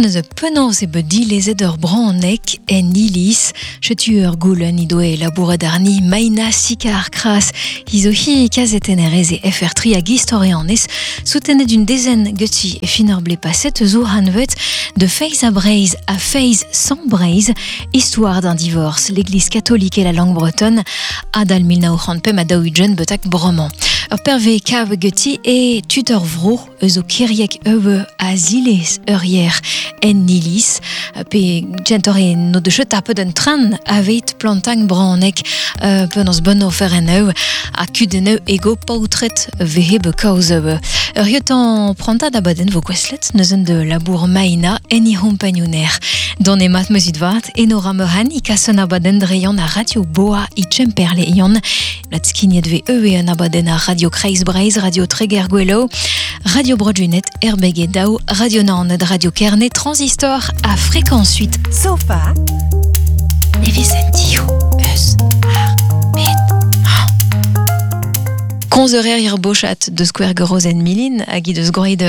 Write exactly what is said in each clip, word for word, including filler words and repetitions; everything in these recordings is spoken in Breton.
Neuze penaos e bet dilezet ur branek en iliz, chetu ur goulenn he doe labouret arni Maina Sicard Kras, hi zo hi kazetennerez e F R tri hag istorianez, soutenet d'un dezen geti e fin ur ble paset zo hanvet de Feiz a Breiz a Feiz sans Breiz, histoire d'un divorce, l'église catholique et la langue bretonne, adal mil nav c'hant pemp ha daou-ugent betak bremañ. Ur perve kav geti e tutor vro eus o kiriek eue a zilez ur yer en iliz, pe gentor e no de chet ar peud un tran avet plantang branek euh, penaos bon ofer en eu a kuden eu ego paotret vehe be kaoz eu. Ur yotan prantad abaden vo kweslet neuzen de labour maina en i rompagnoner. Don e mat meuzit vat, enora meuhan i kasen abaden dreion a Radio Boa i Txemperle ion. La tskignet ve eu e an abaden a Radio Kreiz Breiz, Radio Treger Gwelo, Radio Broadjunet, R B G Dao, Radio Naoned, Radio Kerne, Transistor a Fréquence huit. Sofa. Nevezentiu eus ar met. Konz eur ir bochat de Square Gorozen Milin, hag i deus groet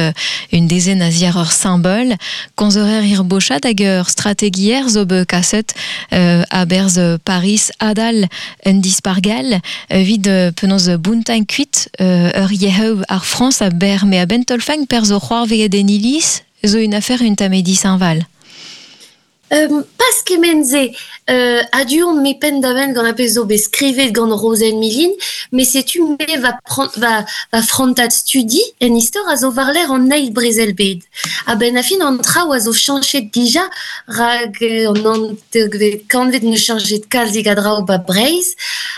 une dezen a ziar ur symbol. Konz eur ir bochat hag ur strategier zo be kaset euh, a berz Paris adal un dispargal vid penaos buntain kuit euh, ur yeheu ar France a ber me a bentolfang per zo c'hoar veget en iliz zo une affaire une tamedi Saint-Val. Euh, pas kemenze euh, adion me pen daven gant a pez zo bet skrivet gant Rozenn Milin, mais setu me va prend, va, va frontat studi en istor a zo varler an eil brezel bed. A ben a fin an traoù a zo chanchet dija rag an an kanvet ne chanchet kalzik a draoù ba Breiz,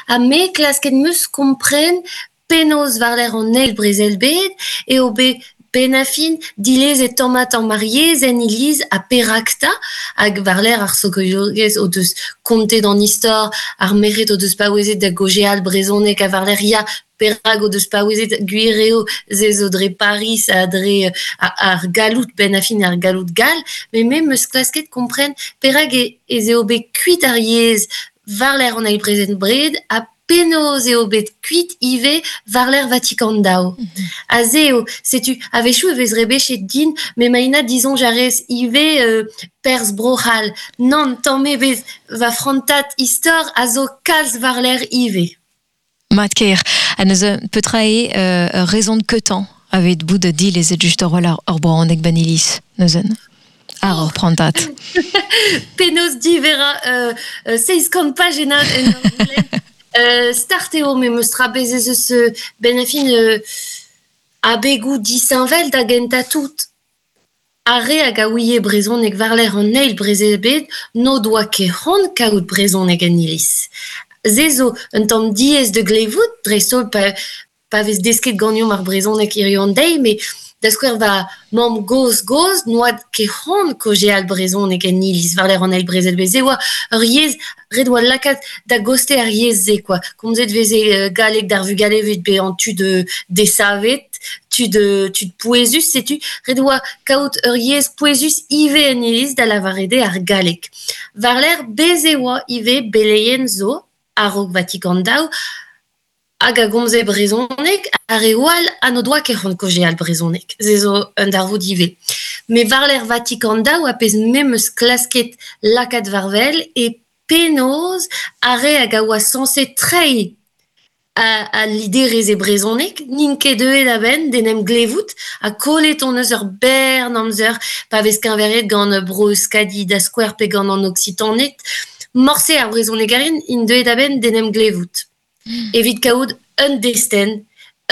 ha me klasket meus kompren penaos varler an eil brezel bed e o bet Benafin, dilez et tomat en mariez, en iliz a perakta, hag varler ar sokoyogez o deus kontet an istor, ar meret o deus paouezet da gojeal brezonek a varler ya perag o deus paouezet gwireo ze zo dre Paris a dre a, ar galout benafin ar galout gal, me me meus klasket kompren perag e, e ze o bet kuit ar yez varler an eil brezen bred a penaos eo bet kuit ive varler Vatikan dao. Mm -hmm. A ze eo, setu, a-wechoù e vez rebechet din, me maina dizon jarez ive euh, perz brohal. Nan, tamm ebet va frantat istor a zo kalz varler ive. Mat ker, a neuze petra eo euh, raison de ketan avet bout de dil ez et just ur wal ur braonek banilis, neuzen. Ar ur prantat. Penaos divera euh, euh, seiz kant pajenad en ur goulenn. Euh, start eo me meus trabez ez eus ben a fin euh, abegou disinvel da genta tout. Ar re hag a ouie brezhoneg varler an eil brezel bed no doa ket c'hoant kaout brezhoneg en iliz. Se zo un tamm diaes de glevout, dreist-holl pa, pa vez desket ganeomp ar brezhoneg hiziv an deiz, met da skouer va mamm goz goz noa ket c'hoant kaozeal brezhoneg en iliz varler an eil brezel bed. Se oa ur yezh ret oa lakaat da goste ar yezh-se, quoi. Komzet veze euh, galleg d'ar vugale evit bezañ tud desavet, tud, tud pouezus, setu ret oa kaout ur yezh pouezus ivez en iliz da lavaret eo ar galleg. Varler bez e oa ivez beleien zo, a-raok Vatikan daou, hag a gomze brezhoneg, ar re oal ha n'o doa ket c'hoant kaozeal brezhoneg. Se zo un darvoud ivez. Me varler Vatikan daou a pezh memes klasket lakaat varvel e penaos ar re hag a oa sañset treiñ a, a liderez e brezhoneg, n'int ket deuet a-benn d'en em glevout, ha kollet on eus ur bern amzer pa vez keñveriet gant bro Euskadi da skouer pe gant an Oksitaned, morse ar brezhonegarien int deuet a-benn d'en em glevout. Mm. Evit kaout un destenn,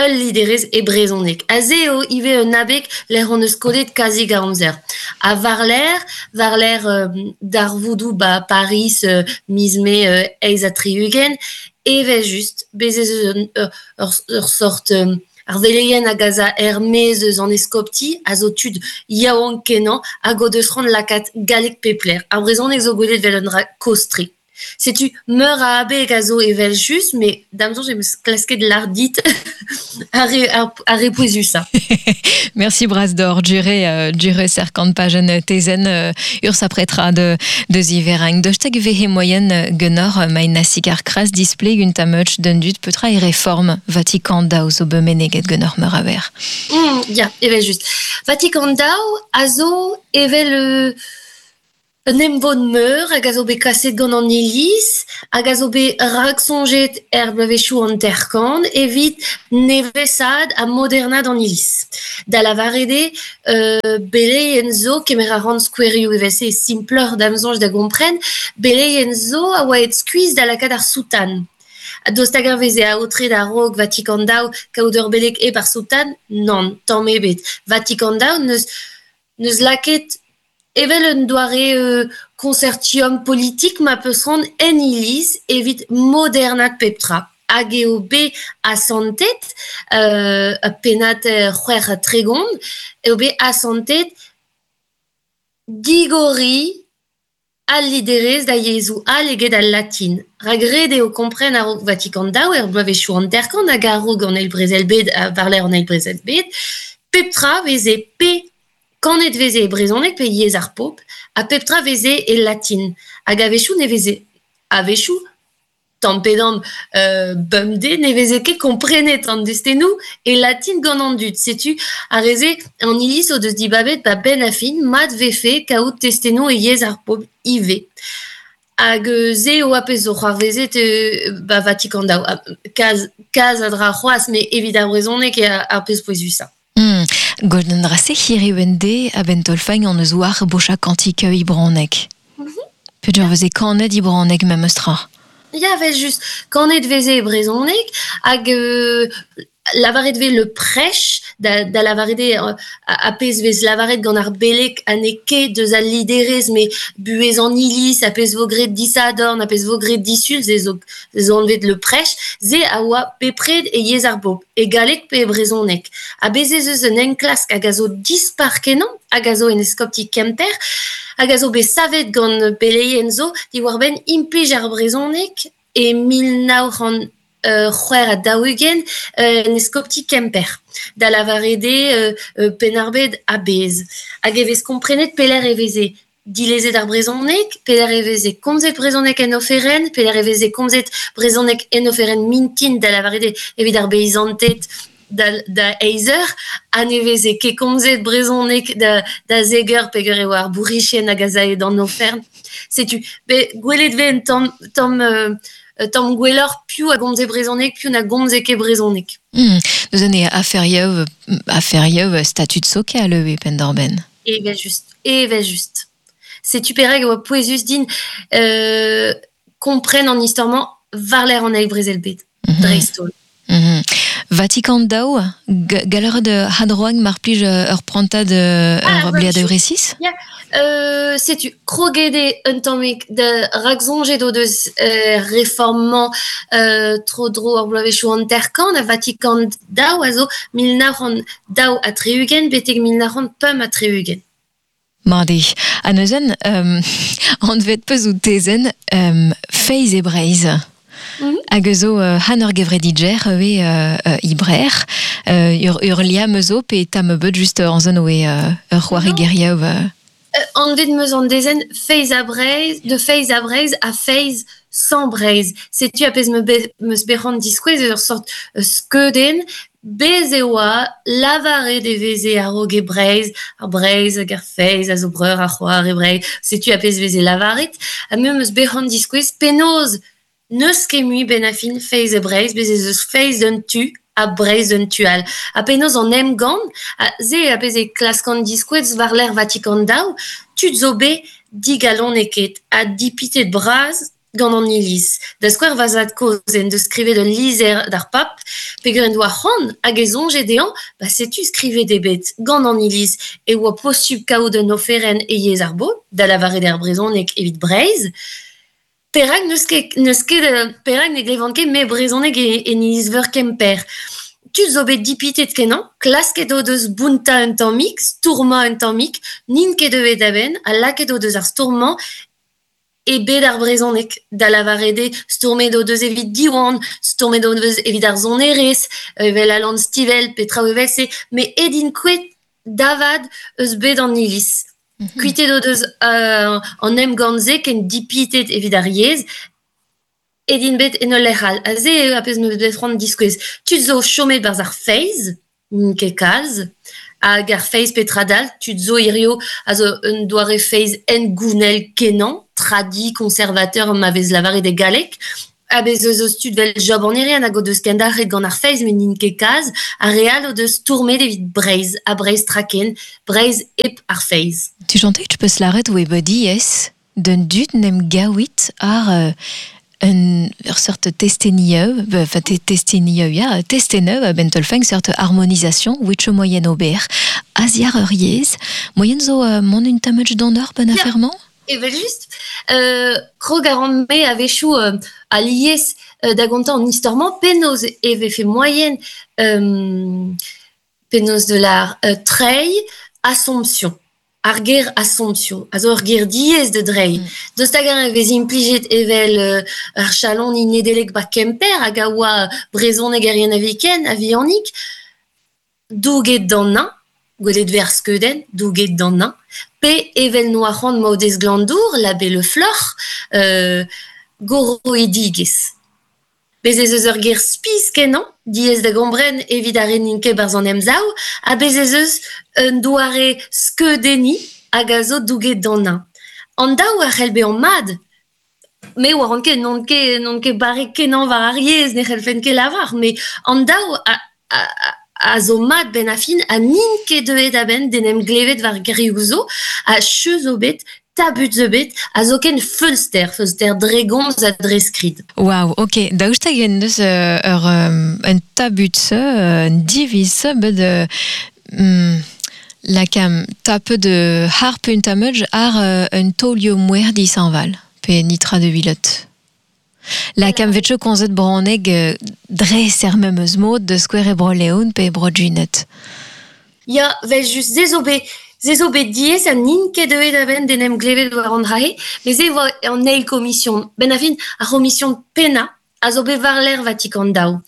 ul liderez e brezhoneg. A se eo ivez un abeg lec'h hon eus kollet kazi ga amzer. A varler, varler euh, darvoudou ba Paris euh, miz mae euh, eizh ha tri-ugent, evel just, bez ez eus un, ur, ur, ur sort euh, ar veleien hag a za er-maez eus an eskopti, a zo tud yaouank kenañ hag o deus c'hoant lakaat galleg pepler. Ar brezhoneg zo gwelet vel un dra kostre. Setu meur a abeg a zo evel just, me da'm soñj em eus klasket lardit ar re, ar, ar re pouezusañ. Merci bras d'or, jure, uh, jure serkant pajen tezen uh, ur sapretra de, de ziverang. Dostag vehe moyen genor maina sikar kras display un tameuch d'un dut petra e reform Vatican daou zo bemeneget genor meur aver. Mm, ya, evel just. Vatican daou a zo evel... Euh, Un emvod meur hag a zo bet kaset gant an iliz, hag a zo bet raksoñjet er bloavezhioù an terkan evit nevesad ha modernad an iliz. Da lavaret eo, euh, beleien zo, kemer a ran skouerioù evel-se simploc'h da'm soñj da gompren, beleien zo a oa et skuizh da lakaat ar soutan. Dost hag ar veze aotre da raok Vatican daou kaout ur beleg hep ar soutan? Nann, tamm ebet. Vatican daou neus, neus lakaet evel un doare euh, consortium politik ma peus ran en iliz evit modernat pep tra. Hag eo bet asantet, euh, pennad c'hwec'h ha tregont, eo bet asantet digori al liderezh da yezhoù all eget al latin. Rak ret eo kompren a-raok Vatican daou er bloavezhioù hanter-kant hag a-raok an eil brezel-bed, war-lerc'h an eil brezel-bed, pep tra veze pe kanet veze e brezhoneg pe yezh ar pobl, ha pep tra veze e latin. Hag a-wechoù ne veze a-wechoù, tamm pe damm euh, bemdez, ne veze ket komprenet an destennoù e latin gant an dud. Setu ar re-se an iliz o deus dibabet ba benn a fin mat vefe kaout testennoù e yezh ar pobl ivez. Hag se eo a pezh zo c'hoarvezet euh, ba Vatican daou. Kaz, kaz a dra c'hoazh, met evit ar brezhoneg eo ar pezh pouezusañ. Mm. Golden drase hiriv en de a ben tolfañ an eus war bocha kantik ibraneg. Mm -hmm. Peogwir veze kanet ibraneg memes tra. Ya, vel just. Kanet veze e brezhoneg hag euh, lavaret vez le prêche da, da lavaret eo a pezh vez lavaret gant ar beleg ha n'eo ket deus al liderezh, met buhez an iliz, a pezh vo graet disadorn, a pezh vo graet disul, se zo, se zo anvet le prêche, se a oa bepred e yezh ar bobl, e galleg pe e brezhoneg. Ha bez ez eus un enklask hag a zo dispar kenañ, hag a zo en eskopti Kemper, hag a zo bet savet gant beleien zo diwar-benn implij ar brezhoneg e mil nav c'hant c'hwec'h ha daou-ugent en eskopti Kemper, da lavaret eo euh, Penn-ar-Bed a-bezh. Hag e vez komprenet pelec'h e veze dilezet ar brezhoneg, pelec'h e veze komzet brezhoneg en oferenn, pelec'h e veze komzet brezhoneg en oferenn mintin, da lavaret eo evit ar beizanted da, da eizh eur, ha ne veze ket komzet brezhoneg da, da zek eur peogwir eo ar bourrichien hag a zae d'an ofern. Setu, be, gwelet vez un tamm, tamm euh, tamm gwelloc'h piv a gomze brezhoneg, piv na gomze ket brezhoneg. Mm. Neuze ne aferioù, aferioù statut sokal eo e penn-d'ar-benn. Evel just, evel just. Setu perak e oa pouezus din euh, kompren an istor-mañ war-lerc'h an eil brezel-bed, mm -hmm. dreist-holl. Mm -hmm. Vatican daou, gallout a hadroag mar plij ur prantad ur bliad ur resis? Ya, euh, setu kroget eo un tammig da raksoñjet o deus euh, reformañ euh, tro-dro ar bloavezhioù hanter-kant, a Vatican daou a zo mil nav c'hant daou ha tri-ugent betek mil nav c'hant pemp ha tri-ugent. Mat eo. Ha neuzen, um, anvet peus out tezenn um, Feiz e Breizh. Mm -hmm. Hag eus zo uh, han ur gevredidjer eo uh, uh, ibrer, uh, ur, ur liamm zo pe tamm beut just an zon oe uh, ur c'hoari geriaou. Uh. Uh, anvet meus an dezenn Feiz a Breizh, de Feiz a Breizh a Feiz sans Breizh. Setu a pezh me be, meus bet c'hoant diskouez ur sort uh, skeudenn, bez e oa lavaret e veze a-raok e Breizh, ar Breizh hag ar Feiz a zo breur ar c'hoar e Breizh. Setu a pezh veze lavaret, ha me meus bet c'hoant diskouez penaos n'eus ket mui benn ar fin Feiz e Breizh, bez ez eus Feiz d'un tu ha Breizh d'un tu all. Ha penaos an emgann, ha se a pezh e klaskan diskouez war-lerc'h Vatican daou, tud zo bet digaloneket ha dipitet bras gant an iliz. Da skouer va zad-kozh en deus skrivet ul lizher d'ar pap, peogwir en doa c'hoant hag e soñje dezhañ, ba setu skrivet eo bet gant an iliz e oa posubl kaout un oferenn e yezh ar bobl, da lavaret ar brezhoneg evit Breizh. Perak n'eus ket, n'eus ket, perak ne glevan ket me brezhoneg e, en iliz-veur Kemper. Tud zo bet dipitet kenañ, klasket o deus bountañ un tammig, stourmañ un tammig, n'int ket deuet a-benn, ha lakaet o deus ar stourmañ e bet ar brezhoneg da lavaret eo stourmet o deus evit Diwan, stourmet o deus evit ar sonerezh, evel Alan Stivell pe traoù evel-se, met edint ket davad eus bet an iliz. Mm -hmm. Kuitet o deus euh, an emgann-se ken dipitet evit ar yezh, edint bet en ul lec'h all. Ha se eo ar pezh 'm eus bet c'hoant diskouez. Tud zo chomet barzh ar feiz, n'int ket kalz, hag ar feiz petra dal, tud zo hirio a zo un doare feiz hengounel kenañ, tradi, conservateur ma vez lavaret e galleg, ha bez eus eus tud vel Job an Irien hag o deus kendalc'het gant ar feiz met n'int ket kalz, ar re all o deus stourmet evit Breizh, ha Breizh traken, Breizh hep ar feiz. Tu chantais, tu peux lâret oe bet diaes d'un dud n'em gaouit ar euh, un ur seurt testenieu, enfin te, testenieu, ya, testeneu a ben tolfeng seurt harmonisation, witch moyen ober, aziar ur yezh, moyen zo euh, mon un tamach d'an ben afferment? Evel just, euh, krog a ran me a-wechoù euh, alies euh, da gontañ an istor-mañ penaos e vefe moyen euh, penaos de la euh, treiñ Assomption. Ar ger Assomption, a zo ur ger diaes da dreiñ. Mm. Daoust hag-eñ e vez implijet evel euh, ar chaloni Nedeleg ba Kemper hag a oa brezhonegerien a-viken, a-vihanik, douget d'an neñv, gwelet vez ar skeudenn, douget d'an neñv, pe evel noa c'hoant Maodez Glanndour, l'abbé Le Floc'h, euh, goroidigezh. Bez ez eus ur ger spis kenañ, diaes da gompren evit ar re n'int ket barzh an emsav, ha bez ez eus un doare skeudenniñ hag a zo douget d'an neñv. An daou a c'hell bezañ mat, me oaran ket n'on ket n'on ket barrek kenañ war ar yezh, ne c'hellfen ket lavar, met an daou a, a, a zo mat benn ar fin ha n'int ket deuet a-benn d'en em glevet war gerioù zo, ha cheuz zo bet, tabut zo bet, ha zoken feulster, feulster dre gomz ha dre skrid. Waouh, ok, daoust hag en deus euh, ur um, un tabut se, un diviz se, bet euh, mm, lakam tape de harp un tameuj ar euh, un taolioù mouer dishañval, pe nitra de vilot. Lakam vetcho konzet bronneg euh, dre ser memeus mod de skouer e bro-Leon pe e bro-Junet. Ya, vel just, se zo bet, se zo bet diaes ha n'int ket deuet a-benn d'en em glevet war an dra-se, met se oa an eil komision. Ben ar fin, ar c'homision pennañ a zo bet war-lerc'h Vatikan daou.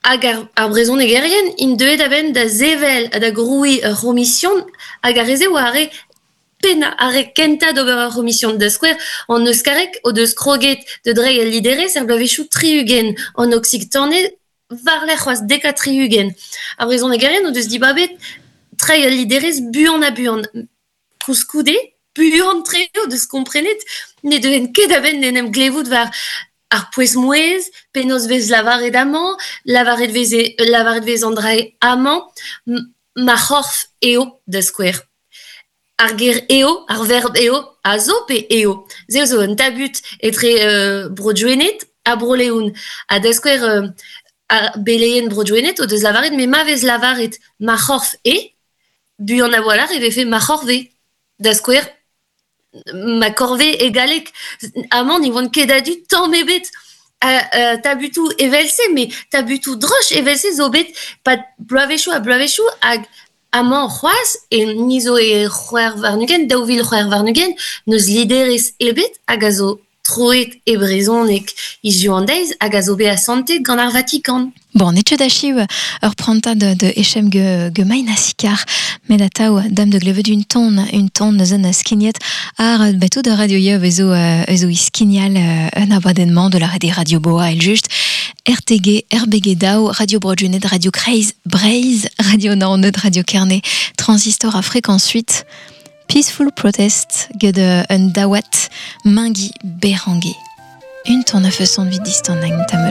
Hag ar, ar brezhonegerien int deuet a-benn da sevel ha da grouiñ ur c'homision hag ar re-se oa ar re pennañ, ar re kentañ d'ober ur c'homision. Da skouer, an euskareg o deus kroget da dreiñ al liderezh er bloavezhioù tri-ugent, an oksitaned war-lerc'h c'hoazh dek ha tri-ugent. Ar brezhonegerien o deus dibabet treiñ al liderezh buan ha buan. Koulskoude, buan-tre o deus komprenet ne deuent ket a-benn d'en em glevout war ar pouez-mouezh, penaos vez lavaret amañ, lavaret veze lavaret vez an dra amañ, ma c'horf eo da skouer. Ar ger eo, ar verb eo, a zo pe eo. Se zo un tabut etre euh, Bro-Gwened ha Bro-Leon. Ha da skouer euh, ar beleien Bro-Gwened o deus lavaret, met ma vez lavaret ma c'horf eo, buan a-walc'h e vefe ma c'horve. Da skouer, ma corvée e galleg. Amañ ne oant ket a-du tamm ebet. Uh, tabutoù evel-se, met tabutoù droch evel-se zo bet pad bloavezhioù ha bloavezhioù hag amañ c'hoazh e ni zo e c'hwec'h warn-ugent, daou vil c'hwec'h warn-ugent, n'eus liderezh ebet hag a zo troet e brezhoneg hiziv an deiz hag a zo bet asantet gant ar Vatikan. Bon, n'eo ket achiv ur prantad de echem ge, ge main a met atav dam de glevet un ton, un ton neuzen skignet ar beto de radio yev ezo, ezo iskinial un abadennement de la radio Radio Boa el just R T G, R B G Dao, Radio Bro-Gwened, Radio Kreiz, Breizh, Radio Naoned, Radio Kerne, Transistor à fréquence huit, Peaceful Protest get un dawat Mengi Berenguer. Un ton a façon de vite distant tameuch.